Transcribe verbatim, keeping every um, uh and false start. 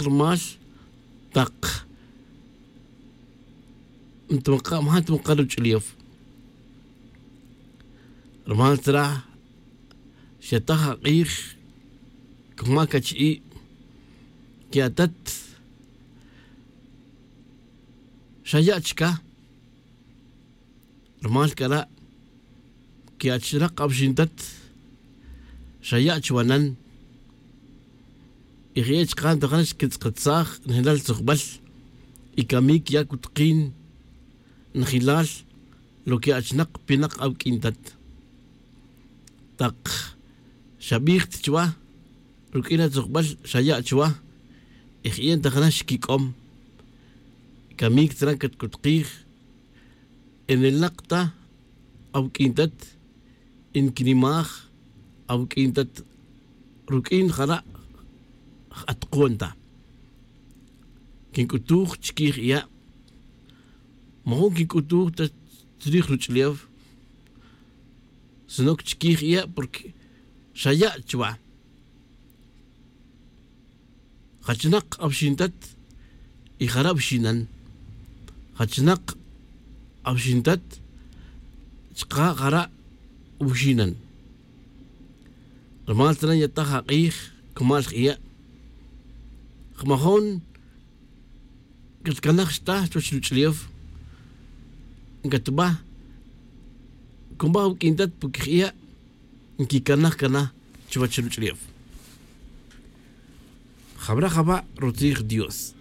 rumal tak ntumaqa' maja' ntumaqa' ruch'ulew. Rumal tzra xataj ak'ij coma cachi'i' que atat xaya' chca. Rumal cara' que achinak awxintat xaya' chuwanan. Y je'e' chka' ntajan xquitz'akatsaj nejelal tzujbal y camic ya' cutukin nejelal lo que achinak pinak awuq'uintat. Tak xabij ta chuwa ruq'uin atzujbal xaya' chuwa. Y je'e' ntajan xquic'om camic tzra catcutukij y nilnak ta awuq'uintat y nquinimaj awuq'uintat ruq'uin jara' j-atukon ta. Quinc'utuj chiquij iya' majun quinc'utuj ta chrij ruch'ulew sino que chiquij iya' porque xaya' chuwa. Jachinak awxintat y jara' wxinan. Jachinak awxintat chka' jara' wxinan. Rumal tzra yataj ak'ij cumal j'iya' jmajun catcanaj xta chuwech ruch'ulew. Catba coma awuq'uintat porque j'iya' nquicanaj cana chuwech ruch'ulew. Jawra' jaba' rutzij dios.